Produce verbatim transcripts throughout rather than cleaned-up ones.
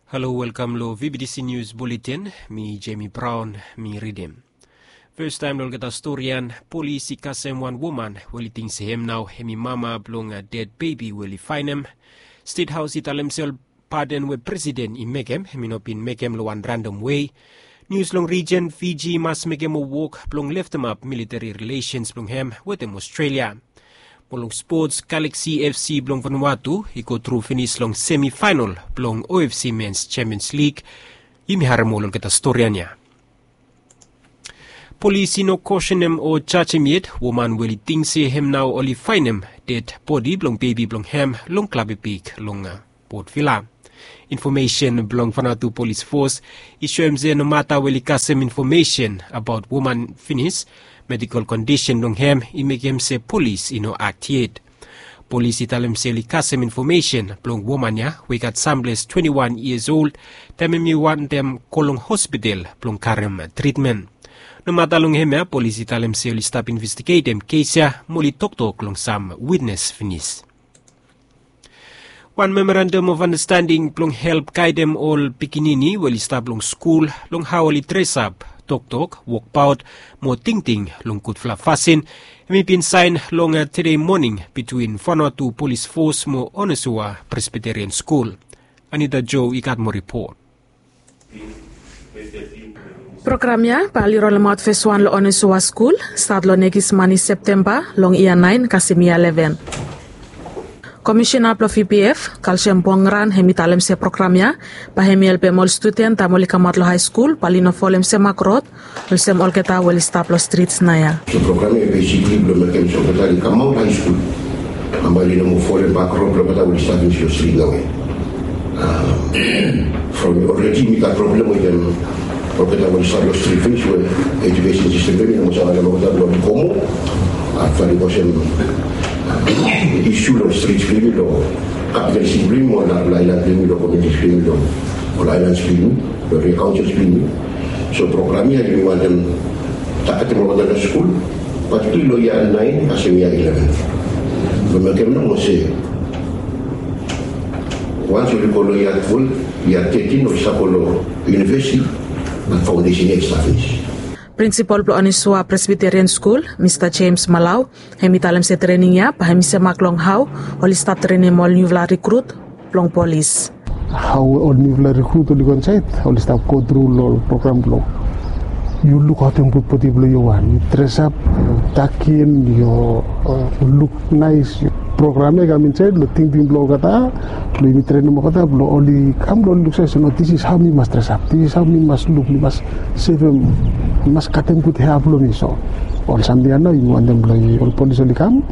Halo, welkam long V B T C News Bulletin. Mi Jamie Brown, mi ridim. Fastaem long olgeta storian, polis i kasem wan woman we oli ting se hem nao hem i mama blong ded bebi we oli faenem. Stet Haos i talem se ol paden we presiden i mekem hem i no bin mekem long wan random wei. Nius long rijen, Fiji i mas mekem ol wok blong leftemap militari rilesens blong hem wetem Australia. Mo long spots, Galaxy F C blong Vanuatu i go tru finis long semifaenol blong O F C Mens Champions League. Yumi harem ol olgeta storian ya. Polis i no kosenem o jajem yet woman we oli ting se hem nao oli faenem ded bodi blong bebi blong hem long Klabepik long Port Vila. Infomesen blong Vanuatu Polis Fos i soem se nomata we oli kasem infomesen abaot woman finis, medikol kondisen blong hem i mekem se polis i no akti yet. Polis i talem se oli kasem infomesen blong woman ya we i gat samples twenti wan yias ol, taem hem i wantem go long hospital blong karem tritmen. Nomata long hemia, polis i talem se oli stap investigetem kes ya mo oli toktok long sam witnes finis. Wan memorandum of understanding blong help gaedem ol pikinini we oli stap long skul long hao oli dresap, toktok, wokbaot mo tingting long gudfala fasin, hem i bin saen long tede moning bitwin Vanuatu Polis Fos mo Onesoa Presbiterian Skul. Anita Jo i gat moa ripot. Program ya bae oli rolemaot feswan long Onesoa Skul, stat long nekis mani Septemba long yia naen kasem yia leven. Komisena blong V P F, Kalsiam Pongran, hem i talem se program ya bae hem i helpem ol studen taem oli kamaot long haeskul bae oli no folem semak rod olsem olgeta we oli stap long strits naoia. So program ya i besikli blong mekem se olgeta oli kamaot haeskul, bae oli no moa folem bak rod blong olgeta we oli stap long strit naoia. From olredi yumi gat problem wetem olgeta we oli stap long strit finis we ejukesen sistem blong yumi i no moa save alem olgeta blong oli go moa. Afta oli go olsem isu long strits blong yumi, long kapital siti blong yumi, mo narafala aelan blong yumi, long komiuniti blong yumi, long ol aelan blong yumi, long eria kaonsel blong yumi. So program ya yumi wantem tagetem olgeta long skul, patikulali long yia naen kasem yia leven. Blong mekem nomo se wans oli go long yia twelef, yia tetin oli save go long univesiti, bat faondesen ya i stap finis. Prinsipol blong Onesoa Presbiterian Skul, Mista James Malau, hem i talem se trening ya bae hem i semak long hao oli stap trenem ol niufala rikrut blong polis. Hao ol niufala rikrut oli go insaed, oli stap go tru long ol program blong yu lukaotem gud bodi blong yu wan, yu dresap, yu takin, yu luk naes. Program ya i kam insaed long tingting blong olgeta blong yumi trenem olgeta blong oli kam blong oli luk se, no, this is how mi mas dresap, this is how mi mas luk, mi mas sevem, mi mas katem gud hea blong mi. So ol samting ya nao yumi wantem blong ol polis oli kam,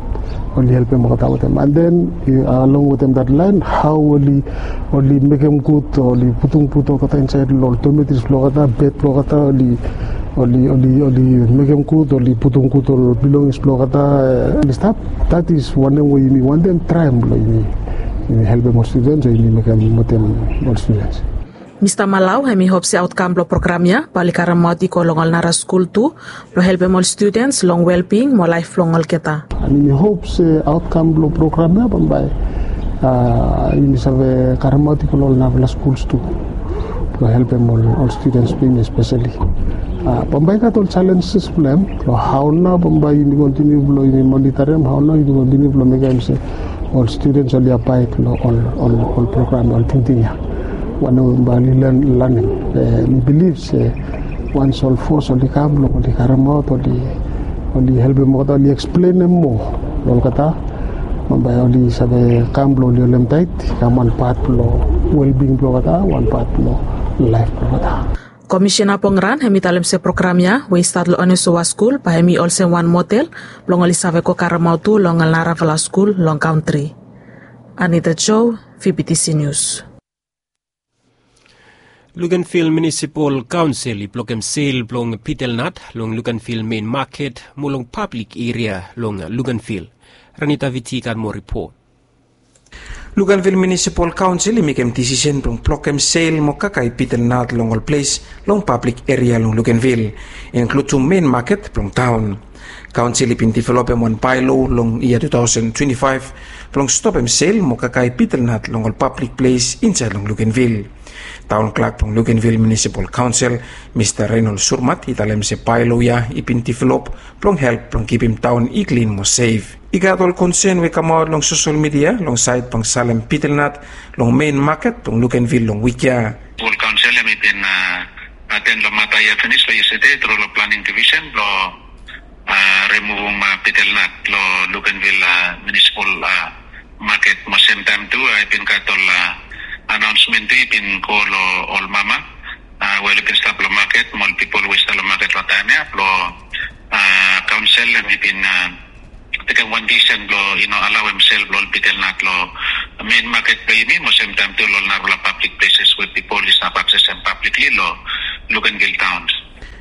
oli helpem olgeta wetem. And then along wetem that line, hao oli, oli mekem gud, oli putum gud olgeta insaed long ol dormitories blong olgeta, bed blong olgeta, oli, oli, oli, oli mekem gud, oli putum gud ol belongings blong olgeta, oli stap. That is wanem we yumi wantem traem blong yumi, yumi helpem ol studens o yumi mekem wetem ol studens. Mista Malau hem i hop se aotkam blong program ya bae oli karemaot i go long ol nara skul tu blong helpem ol studens long welbing mo laef blong olgeta. And yumi hop se aotkam blong program ya bambae yumi save karemaot i go long ol narafala skuls tu blong helpem ol studens blong yumi espeseli. Bambae i gat ol jalenjes blong hem, long hao nao bambae yumi kontiniu blong yumi monitarim, hao nao yumi kontiniu blong mekem se ol studens oli abaed long ol, ol, ol program, ol tingting ya. Wanem bambae oli lanem. Mi bilif se wans ol fos oli kam blong oli karemaot, oli, oli helpem olgeta, oli eksplenem moa long olgeta, bambae oli save kam blong oli holem taet, i kam wan pat blong welbing blong olgeta, wan pat blong laef blong olgeta. Komisena Pongran hem i talem se program ya we i stat long Onesoa Skul bae hem i olsem wan model blong oli save go karemaot tu long ol narafala skul long kantri. Anita Jo, V B T C News. Luganville Municipal Council i blokem sel blong bitel nat long Luganville mein maket mo long pablik eria long Luganville. Ranita Viti i gat moa ripot. Luganville Municipal Council i mekem disisen blong blokem sel mo kakae bitel nat long ol ples long pablik eria long Luganville, inkludem mein maket blong taon. Kaonsel i bin developem wan baelo long yia tu taosen twenti faef blong stopem sel mo kakae bitel nat long ol pablik ples insaed long Luganville. Taon klak blong Lukenvil Munisipal Kaonsel, Mista Reinol Surmat, i talem se baelo ya i bin develop blong help blong kipim taon i klin mo sef. I gat ol konsen we i kamaot long sosel midia long saed blong salem bitel nat long mein maket blong Lukenvil long wik ya. Ol kaonsel hem i bin aten long mata ya finis long yestede tru long planing divisen blong remuvum bitel nat long Lukenvil Munisipal maket mo semtaem tu i bin gat ol anaonsmen tu i bin go long ol mama we oli bin stap long maket mo ol pipol we i stap long maket long taem ya blong kaonsel hem i bin tekem wan disisen blong i no alao hemsel blong ol bitel nat long mein maket blong yumi mo semtaem tu long ol narafala pablik pleses we pipol i stap aksesem pablikli long Lukenvil taon.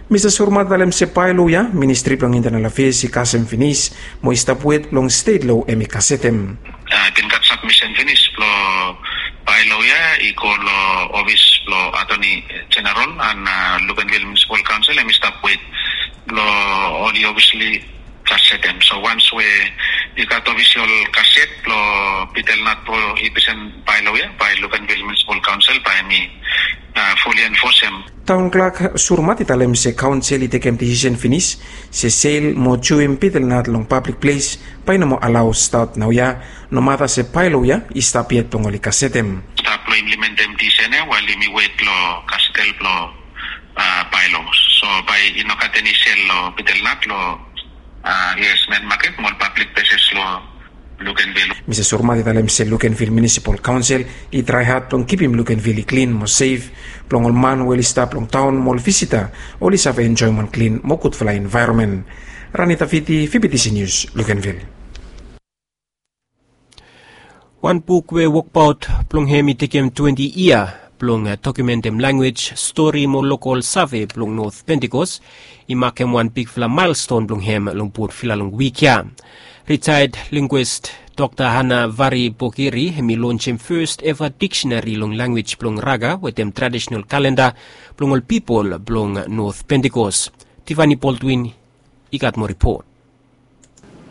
Mista Surmat talem se baelo ya Ministri blong Intenal Afeas i kasem finis mo i stap wet blong stet lo hem i kasetem. I bin gat sabmisen finis blong baelo ya i go long ofis blong Atoni Jeneral an Lukenvil Munisipal Kaonsel hem i stap wet blong oli ofisli kasetem. So wans we i gat ofisial kaset blong bitel nat blong i presen baelo ya bae Lukenvil Munisipal Kaonsel bae hem i fuli enfosem. Taon klak Surmat i talem se kaonsel i tekem disisen finis se sel mo juem bitel nat long pablik ples bae i no moa alao stat naoia, nomata se baelo ya i stap yet blong oli kasetem. Stap long implimentem disisen ya wael yumi wet long kasetel blong baelo. So bae i no gat eni sel long bitel nat long yes, mein maket mo ol pablik pleses long Lukenvil. Mista Surmat i talem se Lukenvil Munisipal Kaonsel i trae had blong kipim Lukenvil i klin mo sef blong ol man we oli stap long taon mo ol visita oli save enjoem wan klin mo gudfala envaeronmen. Ranita Viti, V B T C News, Lukenvil. Wan buk we wokbaot blong hem i tekem twenti yia blong dokumentem lanwis, stori mo lokol save blong Not Pentikos i makem wan bigfala maelston blong hem long Port Vila long wik ya. Ritaed lingwis Dokta Hana Vari Bogiri hem i lonsem fes eva diksenari long lanwis blong Raga wetem tradisenal kalenda blong ol pipol blong Not Pentikos. Tivani Baldwin i gat moa ripot.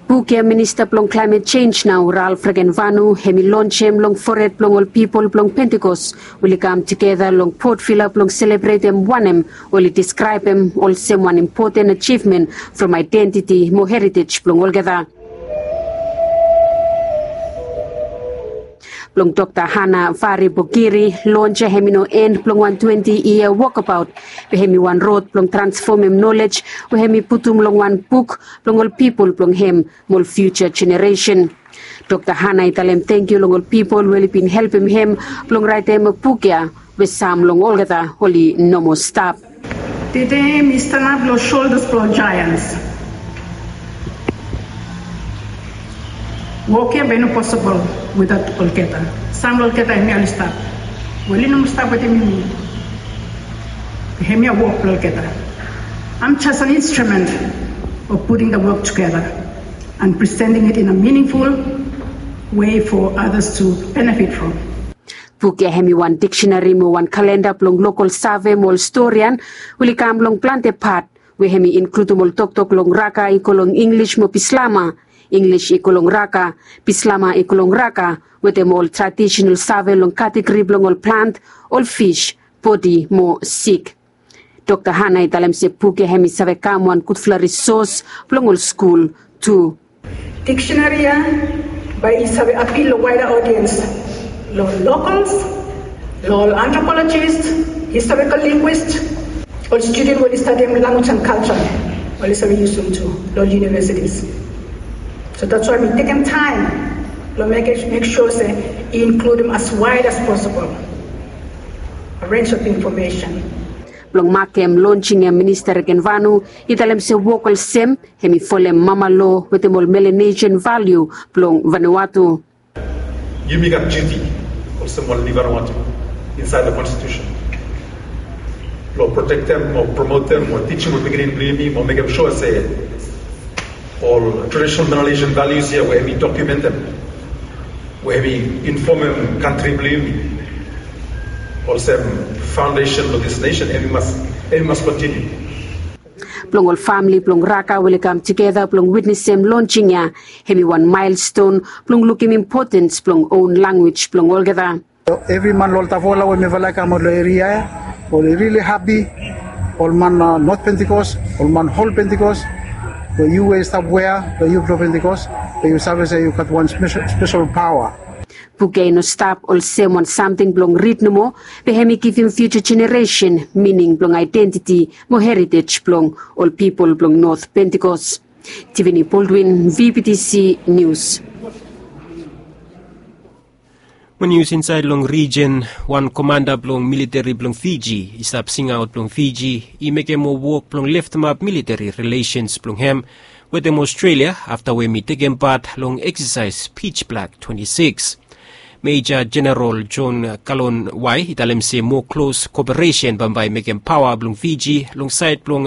Buk ya Minista blong Klaemet Jenj nao, Ralph Regenvanu, hem i lonsem long fored blong ol pipol blong Pentikos we oli kam tugeta long Port Vila blong selebretem wanem oli diskraebem olsem wan impoten ajivmen from aedentiti mo heritej blong olgeta. Blong Dokta Hana Vari Bogiri, lons ya hem i no en blong wan twenti yia wokabaot, be hem i wan rod blong transfomem nolej we hem i putum long wan buk blong ol pipol blong hem mo ol fiuja jeneresen. Dokta Hana i talem tangkiu long ol pipol we oli bin helpem hem blong raetem buk ya we sam long olgeta oli no moa stap. Tede mi stanap long soldas blong ol jaeans. Wok ya bae i no posibol witaot olgeta. Sam long olgeta hemia oli stap. Wel, oli no moa stap wetem yumi. Hemia wok blong olgeta. I'm just an instrument of putting the work together and presenting it in a meaningful way for others to benefit from. Buk ya hem i wan diksenari mo wan kalenda blong lokol save mo ol storian we oli kam long plante pat, we hem i inkludum ol toktok long Raga i go long Inglis mo Bislama, Inglis i go long Raga, Bislama i go long Raga, wetem ol tradisenal save long kategori blong ol plant, ol fis, bodi mo sik. Dokta Hana i talem se buk ya hem i save kam wan gudfala risos blong ol skul tu. Diksenari ya bae i save apil long waeda odiens, long ol lokals, long ol antropolojis, historikal lingwis, ol studen we oli stadiam lanwis an kalja, oli save yusum tu long ol yunivesitis. So that's why mi tekem taem blong mek sua se i inkludum as waed as posibol a renj of infomesen. Blong makem lonsing ya Minista Regenvanu i talem se wok olsem hem i folem mama loa wetem ol Melanesian valiu blong Vanuatu. Yumi gat diuti olsem ol Vanuatu insaed long konstitusen blong protektem o promotem o tijim ol pikinini blong yumi mo mekem sua se ol tradisenal Melanesian valius ya we hem i dokumentem, we hem i infomem kantri blong yumi olsem faondesen blong dis nesen, hem i mas, hem i mas kontiniu. Blong ol famili blong Raga we oli kam tugeta blong witnesem lonsing ya, hem i wan maelston blong lukim impotens blong own lanwis blong olgeta. Evri man long ol tavola we mifala i kam aot long eria ya, oli rili hapi. Ol man North Pentecost, ol man Hol Pentecost, we yu we i stap wea long yu blong Pentecost, we yu save se yu gat wan spesel paoa. Buk ya i no stap olsem wan samting blong rid nomo, be hem i givim fiuja jeneresen mining blong aedentiti mo heritej blong ol pipol blong North Pentecost. Tivini Baldwin, V B T C News. Mo nius insaed long rijin, wan komanda blong militeri blong Fiji i stap singaot blong Fiji i mekem moa wok blong leftemap militeri relesens blong hem wetem Australia afta we hem i tekem pat long eksasaes Pitch Black twenti sikis. Meja Jeneral John Kalon Wai i talem se moa klos koperesen bambae i mekem paoa blong Fiji long saed blong